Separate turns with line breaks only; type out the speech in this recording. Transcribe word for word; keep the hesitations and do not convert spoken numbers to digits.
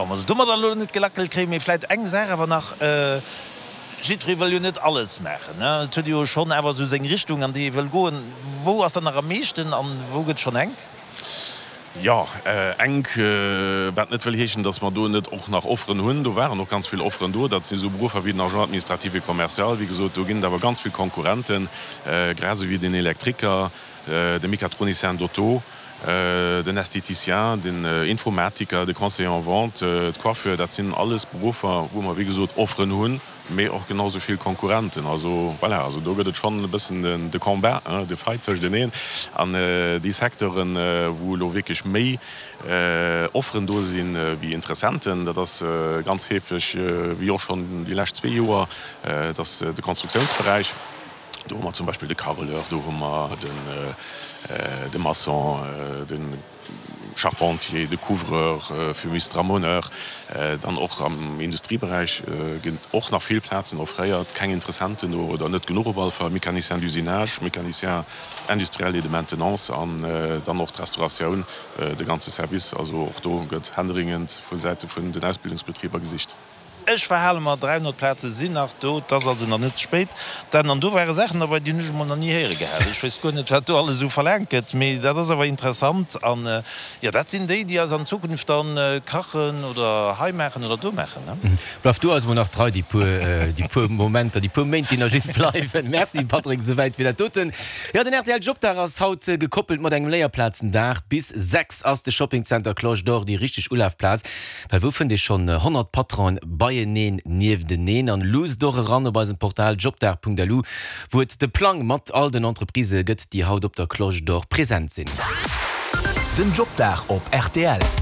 Wa mer se domadder elo net gelackelt kréien, mee vläit eng Saach awer nach, Jiddweree wëll jo net alles maachen, ne? Et huet ee jo schonn awer esou seng Richtung, an déi ee wëll goen. Wou ass dann nach am meeschten an wou gëtt schonn enk?
Jo, enk, wat net wëll heeschen, datt mer do net och nach Offeren hunn. Do waren och ganz vill Offeren do. Dat sinn esou Beruffer wéi den Agent administratif et commercial. Wéi gesot, do ginn et awer ganz vill Konkurrenten, grad esou wéi den Elektriker, de Mécatronicien d'auto, den Esthéticien, den Informatiker, de Conseiller en vente, d'Coiffeur. Dat sinn alles Beruffer, wou mer, wéi gesot, Offeren hunn, mee och genau esou vill Konkurrenten. Also voilà, also do gëtt et schonn e bëssen de Combat, de Fight tëschteneen. An déi Secteuren, wou elo wierklech méi Offeren do sinn wéi Interessenten, dat ass ganz heefeg, wéi och schonn déi lescht zwee Joer, dat ass de Konstruktiounsberäich. Do hu mer zum Beispill de Carreleur, do hu mer de Maçon, de Charpentier, de Couvreur, Fumiste, Ramoneur. Dann och am Industrieberäich ginn och nach vill Plazen offréiert, keng Interessenten do oder net genuch op alle Fall, Mécanicien d'usinage, Mécanicien industriel et de maintenance an dann och d'Restauratioun, de ganze Service. Also och do gëtt händeringend vu Säite vun den Ausbildungsbetriber gesicht.
Ech verhale mer, dräihonnert Plaze sinn nach do, et ass also nach net ze spéit. Dann, an do ware Saachen derbei, déi hunn ech emol nach ni héiere gehat. Ech wéisst guer net, wat do alles esou verlaangt gëtt, mee dat ass awer interessant. An, jo, dat sinn déi, déi eis an Zukunft dann kachen oder hei maachen oder do maachen, ne?
Bleif du eis emol nach trei déi puer, déi puer Momenter, déi puer Méint, déi nach just bleiwen. Merci Patrick, esouwäit fir dat doten. Jo, den rtl Jobdag ass haut gekoppelt mat engem Léierplazendag. Bis sechs ass de Shoppingcenter Cloche d'Or déi richteg Ulafplaz. Well wou fënnt ee schonn honnert Patronen beieneen, niefteneen? An luusst och eran op eisem Portal jobdag.lu, wou et de Plang mat all den Entreprisë gëtt, déi haut op der Cloche d'Or present sinn.
Den Jobdag op rtl.